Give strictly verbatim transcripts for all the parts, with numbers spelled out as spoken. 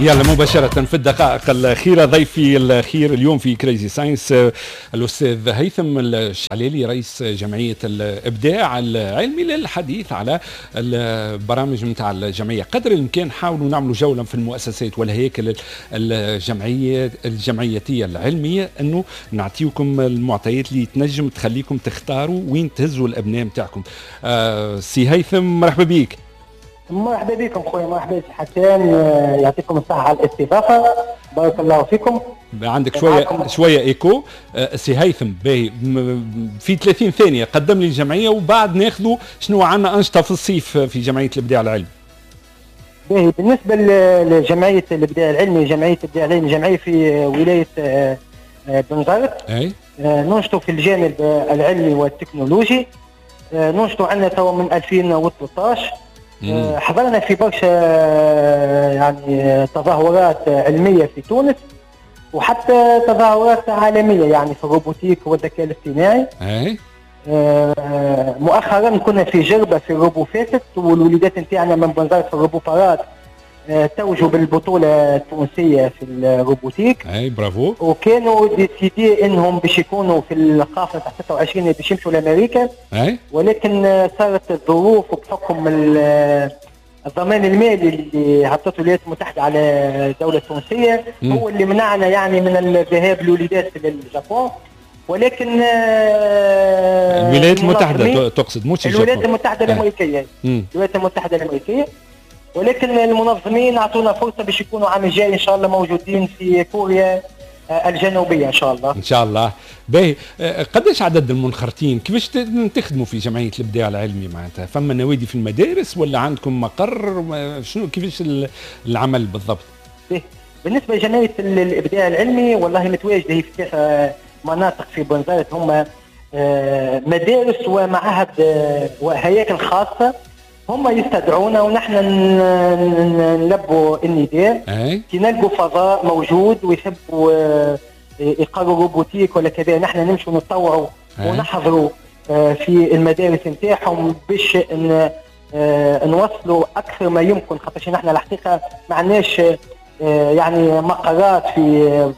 يلا مباشرة في الدقائق الأخيرة، ضيفي الأخير اليوم في Crazy Science الأستاذ هيثم الشعلالي، رئيس جمعية الإبداع العلمي، للحديث على البرامج نتاع الجمعية. قدر الإمكان حاولوا نعملوا جولة في المؤسسات والهياكل الجمعية الجمعيتية العلمية، أنه نعطيكم المعطيات اللي تنجم تخليكم تختاروا وين تهزوا الأبناء نتاعكم. آه سي هيثم، مرحبا بك. مرحبا بكم خويا، مرحبا سي حسان، يعطيكم الصحة على الاستضافة، بارك الله فيكم. عندك شوية شوية écho. آه، سي هيثم، باهي، في ثلاثين ثانية قدم لي الجمعية وبعد ناخذوا شنو عندنا أنشطة في الصيف في جمعية الإبداع العلمي. باهي، بالنسبة لجمعية الإبداع العلمي، جمعية الإبداع العلمي جمعية في ولاية آه، آه، بنزرت. أي ننشطوا في الجانب العلمي والتكنولوجي، ننشطوا عندنا توا من ألفين وثلاثة عشر. آه، حضرنا في برشا آه، يعني تظاهرات علمية في تونس وحتى تظاهرات عالميه، يعني في ال robotique والذكاء الاصطناعي. اي آه، مؤخرا كنا في جربه في ال Robo Fest، والوليدات نتاعنا من بنزرت في ال Robo Parade توجوا بالبطولة التونسية في ال robotique. اي برافو. وكانوا décidé انهم باش يكونوا في القافلة تاع ستة وعشرين باش يمشوا لامريكا. اي ولكن صارت الظروف وبحكم الضمان المالي اللي حطته الولايات المتحدة على الدولة التونسية مم. هو اللي منعنا يعني من الذهاب للوليدات للجابون، ولكن آه، الولايات المتحدة المنظمين- تقصد مش الولايات الجابون. المتحدة آه. الامريكيه. مم. الولايات المتحدة الامريكيه، ولكن المنظمين اعطونا فرصة باش يكونوا عام الجاي ان شاء الله موجودين في كوريا آه، الجنوبية ان شاء الله. ان شاء الله. باهي، آه، قداش عدد المنخرطين؟ كيفاش ت- تخدموا في جمعية الابداع العلمي؟ معناتها فما نوادي في المدارس ولا عندكم مقر؟ ما- شنو كيفاش ال- العمل بالضبط؟ به. بالنسبة لجمعية ال- الابداع العلمي، والله متواجدة هي في ثلاثة مناطق في بنزرت، هم آه، مدارس ومعاهد آه، وهياكل خاصه، هم يستدعونا ونحن ن- ن- نلبوا النداء. اي كي نلقوا فضاء موجود ويحبوا آه، يقروا robotique ولا كذا، نحن نمشوا نتطوعوا أي. ونحضروا آه، في المدارس نتاعهم باش ن- آه، نوصلوا اكثر ما يمكن، خاطر نحن الحقيقة ما عندناش آه، يعني مقرات في آه،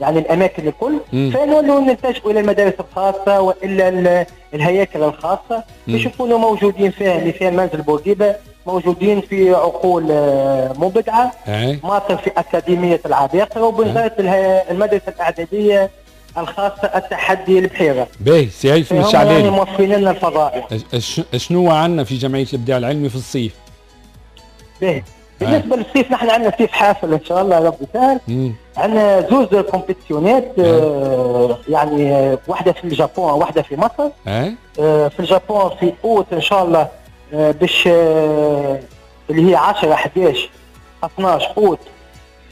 يعني الاماكن الكل. مم. فنولوا نلتجئوا الى المدارس الخاصة والا ال- الهياكل الخاصة باش يكونوا موجودين فيها. مثال منزل بورقيبه، موجودين في عقول آه، مبدعه، اي ماطر في أكاديمية العباقرة، وبنزرت الها- المدرسة الإعدادية الخاصة التحدي البحيرة. باهي، سي هيثم فهم يعني الشعلالي، موفرين لنا الفضاء. أش- شنو عندنا في جمعية الابداع العلمي في الصيف؟ باهي، بالنسبة للصيف نحن عندنا صيف حافل إن شاء الله، ربي سهل. مم. عندنا زوز compétition ات، آه يعني آه، واحدة في اليابان، واحدة في مصر. اي آه في اليابان في أوت إن شاء الله، آه باش آه اللي هي عشرة حداش اثناش أوت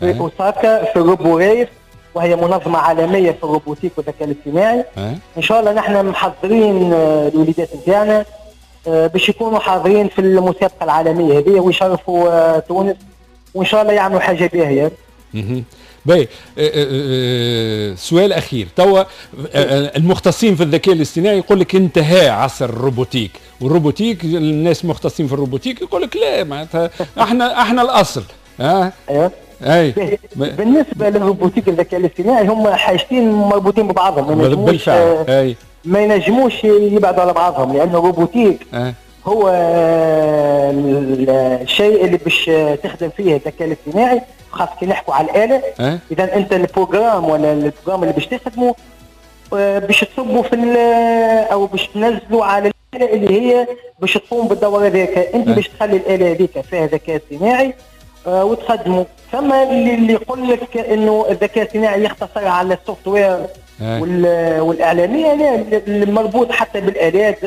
في أي. أوساكا في Robo Race، وهي منظمة عالمية في ال robotique والذكاء الاصطناعي. اي ان شاء الله نحن محضرين آه، الوليدات نتاعنا آه، باش يكونوا حاضرين في المسابقة العالمية هذه ويشرفوا آه، تونس، وان شاء الله يعملوا حاجة باهيه. مهم. باهي، آه، آه، آه، سؤال اخير توا، المختصين في الذكاء الاصطناعي يقول لك انتهى عصر ال robotique، وال robotique الناس مختصين في ال robotique يقول لك لا، معناتها احنا احنا الاصل، ها. ايوه. اي. بالنسبة لل robotique، الذكاء الاصطناعي، هم حاجتين مربوطين ببعضهم، ما ينجموش بالفعل اي ما ينجموش يبعدوا على بعضهم، لانه ال robotique أه. هو الشيء اللي باش تخدم فيه الذكاء الاصطناعي، خاصة كي نحكوا على الاله. أه. اذا انت ال programme ولا ال programme اللي باش تخدمه آه، باش تصبوا في او باش تنزلوا على الاله اللي هي باش تقوم بالدور هذاك، انت أه. باش تخلي الاله هذيك فيها ذكاء اصطناعي آه، وتخدموا. ثم اللي اللي يقول لك انه الذكاء الاصطناعي يختصر على ال software والاعلاميه، لا، المربوط حتى بالالات،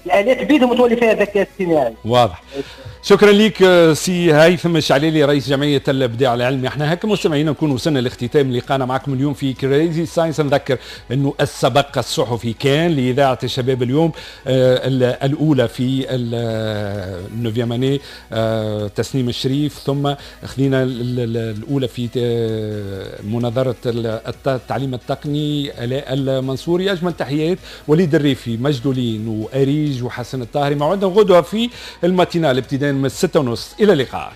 الالات بيدهم تولي فيها ذكاء اصطناعي. واضح، شكرا لك آه، سي هيثم الشعليلي، رئيس جمعية الابداع العلمي. احنا هكا مستمعينا نكون وصلنا لاختتام لقانا معكم اليوم في Crazy Science. نذكر انه السبق الصحفي كان لاذاعة الشباب اليوم، آه، الاولى في ال neuvième année آه، تسنيم الشريف، ثم خذينا الاولى في مناظرة التعليم التقني الاء المنصوري. اجمل تحيات وليد الريفي، مجدولين واريج وحسن الطاهري. موعدنا غدوه في ال matinale ابتداء من الستة ونص. الى اللقاء.